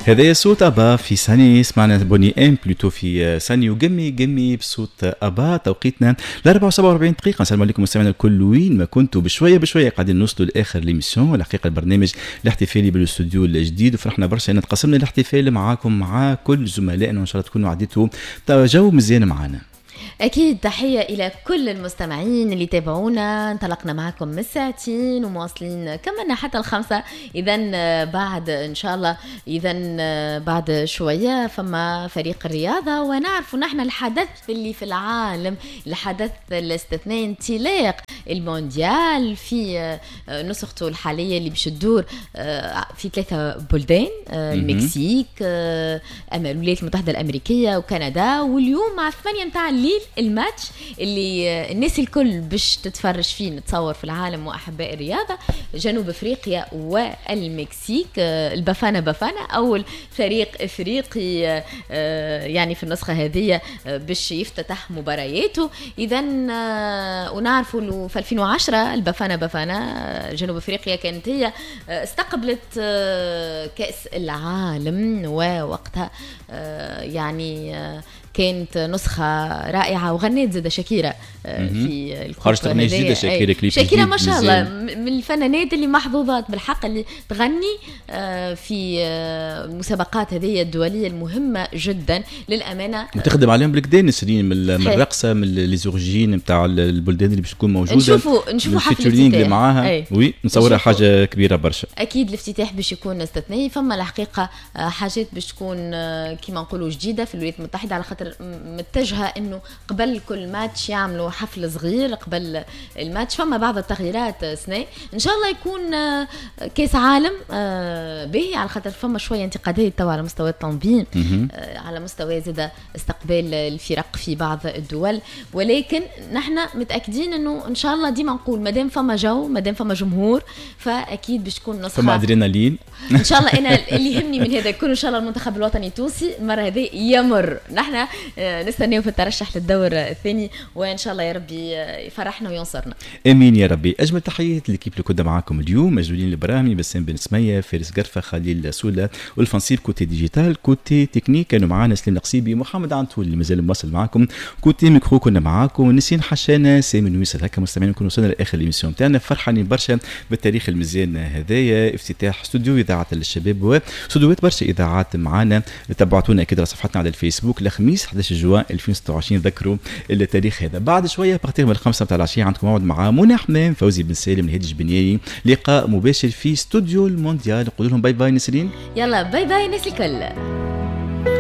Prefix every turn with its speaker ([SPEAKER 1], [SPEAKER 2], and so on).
[SPEAKER 1] هذا صوت ابا في Sunny، سمعنا Boney M plutôt في Sunny و Gimme Gimme بصوت ابا. توقيتنا ل 47 دقيقة. السلام عليكم مستمعينا الكل وين ما كنتوا. بشوية بشوية قاعدين نوصلوا لاخر l'émission، الحقيقة البرنامج الاحتفالي بالاستوديو الجديد، وفرحنا برشا ان تقسمنا الاحتفال معاكم مع كل زملائنا، وان شاء الله تكونوا عديتوا جو مزيان معنا.
[SPEAKER 2] أكيد تحية إلى كل المستمعين اللي تابعونا. انطلقنا معكم من ساعتين ومواصلين كملنا حتى 5. إذا بعد إن شاء الله، إذا بعد شوية فما فريق الرياضة، ونعرف نحن الحدث اللي في العالم، الحدث الاستثنائي، انطلاق المونديال في نسخته الحالية اللي باش تدور في 3 بلدان، المكسيك، الولايات المتحدة الأمريكية وكندا. واليوم مع 8 متاع الليل الماتش اللي الناس الكل باش تتفرج فيه نتصور في العالم واحباء الرياضه، جنوب افريقيا والمكسيك، البافانا بافانا اول فريق افريقي يعني في النسخة هذه باش يفتتح مبارياته. اذا ونعرفوا انه في 2010 البافانا بافانا جنوب افريقيا كانت هي استقبلت كاس العالم، ووقتها يعني كانت نسخة رائعة وغنيت زادة شاكيرا في
[SPEAKER 1] خرجت أغنية جديدة شاكيرا، كليب.
[SPEAKER 2] شاكيرا ما شاء الله من الفنانات اللي محظوظات بالحق اللي تغني في المسابقات هذه الدولية المهمة جدا للأمانة،
[SPEAKER 1] وتخدم عليهم بالكدا نسرين من الرقصة، من les origines نتاع البلدان اللي باش تكون موجودة.
[SPEAKER 2] نشوفوا حفل الافتتاح
[SPEAKER 1] اللي معاها، oui نصورها حاجة كبيرة برشا.
[SPEAKER 2] أكيد الافتتاح باش يكون استثنائي. فما الحقيقة حاجات باش تكون كيما نقولوا جديدة في الولايات المتحدة، على خاطر متجهة انه قبل كل ماتش يعملوا حفل صغير قبل الماتش. فما بعض التغييرات سنة ان شاء الله يكون كاس عالم باهي، على خاطر فما شوية انتقادات توا على مستوى التنظيم، على مستوى زاد استقبال الفرق في بعض الدول، ولكن نحن متاكدين انه ان شاء الله ديما نقول مادام فما جو، مادام فما جمهور، فاكيد باش تكون نسخه
[SPEAKER 1] فما ادرينالين
[SPEAKER 2] ان شاء الله. انا اللي يهمني من هذا كله ان شاء الله المنتخب الوطني التونسي المرة هذه يمر. نحن نستناو في الترشح للدور الثاني، وان شاء الله يا ربي يفرحنا وينصرنا.
[SPEAKER 1] امين يا ربي. اجمل تحيات l'équipe اللي كنا معاكم اليوم، مجدولين الابراهيمي، بسام بن سميه، فارس قرفه، خليل سوله، والفنصيب côté digital، côté technique كانوا معانا سليم القصيبي، محمد عنتول اللي مازال مواصل معاكم، côté micro كنا معاكم نسين حشانه، سامي نويسل. هكا مستمعين نكون وصلنا لاخر l'émission تاعنا. فرحانين برشا بالتاريخ المزيان هذايا، افتتاح استوديو اذاعة الشباب واستوديوهات برشا اذاعات معانا. تبعتونا اكيد على صفحتنا على الفيسبوك الخميس 11 جوان 2026، ذكروا التاريخ هذا. بعد شوية à partir من 5 نتاع العشية عندكم موعد مع منى حمام، فوزي بن سالم، الهادي جبنياني، لقاء مباشر في استوديو المونديال. نقول لهم bye bye نسرين،
[SPEAKER 2] يلا bye bye الناس الكل.